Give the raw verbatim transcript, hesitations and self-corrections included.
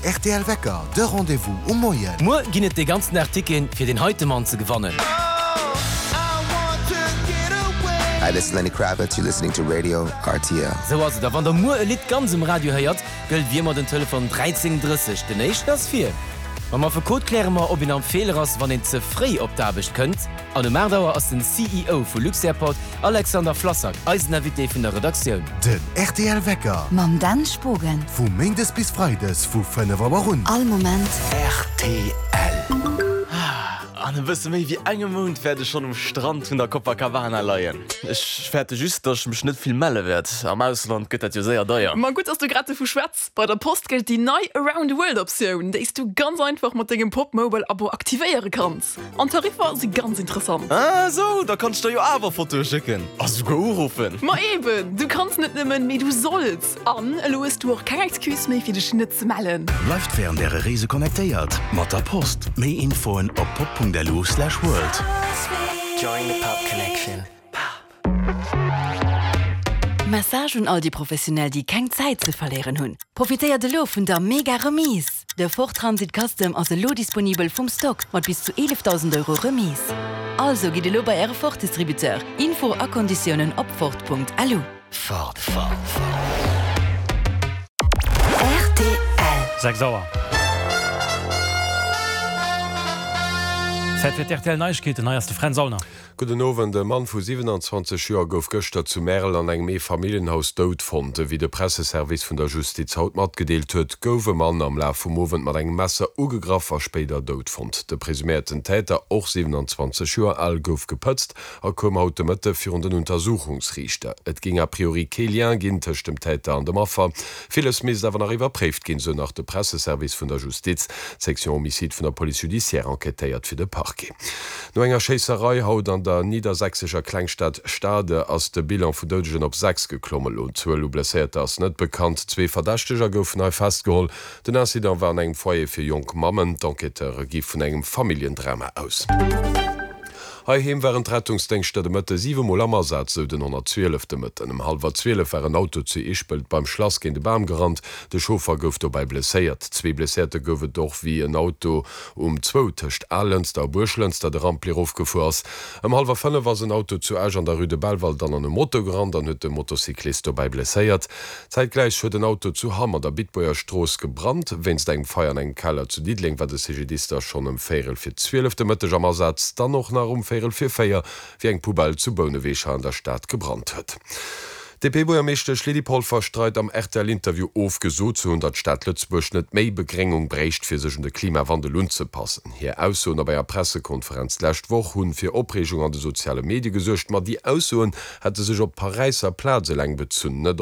R T L Wecker, de Rendez-vous um Moien. Muer ginn et dee ganzen Dag Ticketen fir den heite Mann ze gewannen. Hi, this is Lenny Kravitz. You're listening to Radio R T L. Sou ass et, a wann der muer e Lidd ganz um Radio héiert, gëllt wéi ëmmer den Telefon dräizéng drësseg, den éischten ass vir. Mam Affekot kläre mer, ob een am Feeler ass, wann een ze fréi op d'Aarbecht kënnt. An um aacht Auer ass den C E O vu Luxairport, Alexander Flassak, eisen Invité vun der Redaktioun. Den R T L Wecker. Mam Dan Spogen. Vu méindes bis freides vu fënnef Auer un. All Moment. R T L. An e bësse méi wéi engem Mount wäert ech schonn um Strand vun der Copacabana leien. Ech fäerte just, dass ech mech net vill melle wäert. Am Ausland gëtt dat jo séier deier. Ma gutt, dass du grad dovu schwätz. Bei der Post gëllt déi nei Around the World Optioun, déi s du ganz einfach mat dengem Pop Mobile Abo aktivéiere kanns. An d'Tariffer si ganz interessant. Ah sou, da kann ech der jo awer Fotoe schécken. A souguer uruffen. Ma eben, du kanns net nëmmen, mee du solls. An elo hues du och keng Excuse méi fir dech net ze mellen. Bleift wärend äre Reese connectéiert mat der Post. Méi Infoen op pop Punkt L U slash world. Join the Pop Connection. Message un all déi Professionell, déi keng Zäit ze verléieren hunn. Profitéiert elo vun der mega Remise. De Ford Transit Custom ass elo disponibel vum Stock mat bis zu eelefdausend Euro Remise. Also gitt elo bei äre Ford Distributeur. Info a Konditiounen op Ford Punkt L U. Ford, Ford, Ford. R T L. Sechs Auer. Zäit fir d'R T L Neiegkeeten, hei ass de Fränz Aulner. Gudden Owend. E Mann vu siwenanzwanzeg Joer gouf gëschter zu Märel an engem Eefamilljenhaus dout fonnt. Wéi de Presseservice vun der Justiz haut matgedeelt huet, gouf e Mann am Laf vum Owend mat engem Messer ugegraff a spéider dout fonnt. De presuméierten Täter, och siwenanzwanzeg Joer al, gouf gepëtzt a koum haut de Mëtte virun den Untersuchungsriichter. Et géing a priori kee Lien ginn tëscht dem Täter an dem Affer. Villes misst awer nach iwwerpréift ginn, sou nach de Presseservice vun der Justiz. D'Section Homicide vun der Police judiciaire enquêtéiert fir de Parquet. No enger Schéisserei haut an der niddersächsescher Klengstad Stade ass de Bilan vun Doudegen op sechs geklommen. D'Zuel u Blesséierter ass net bekannt. Zwee Verdächteger goufen hei festgeholl. Den Incident war an engem Foyer fir jonk Mammen. D'Enquêteure gi vun engem Familljendrama aus. Heiheem waren d'Rettungsdéngschter de Mëtte siwe Mol am Asaz, sou den honnertzwielef de Mëtten. Ëm hallwer zwielef war en Auto zu Ischpelt beim Schlass géint e Bam gerannt. De Chauffer gouf dobäi blesséiert. Zwee Blesséierte gouf et och, wéi en Auto um zwou tëscht Alënster a Buerglënster de Rampli erofgefuer ass. Ëm hallwer fënnef ass en Auto zu Esch an der Rue de Belval dann an e Moto gerannt an huet de Motocyclist dobäi blesséiert. Zäitgläich huet en Auto zu Hamm an der Bitbuerger Strooss gebrannt. Wéinst engem Feier an engem Keller zu Diddeleng war de C G D I S da schonn ëm véierel vir zwielef de Mëtteg am Asaz, dann och nach um véierel vir véier, wéi eng Poubelle zu Bouneweg an der Stad gebrannt huet. D'D P-Buergermeeschtesch Lydie Polfer streit am R T L-Interview of, gesot ze hunn, datt d'Stad Lëtzebuerg net méi Begréngung bréicht, fir sech un de Klimawandel unzepassen. Hir Aussoen op enger Pressekonferenz d'lescht Woch hunn fir Opreegung an de soziale Medie gesuergt, ma déi Aussoen hätte sech op d'Paräisser Plaz eleng bezunn, net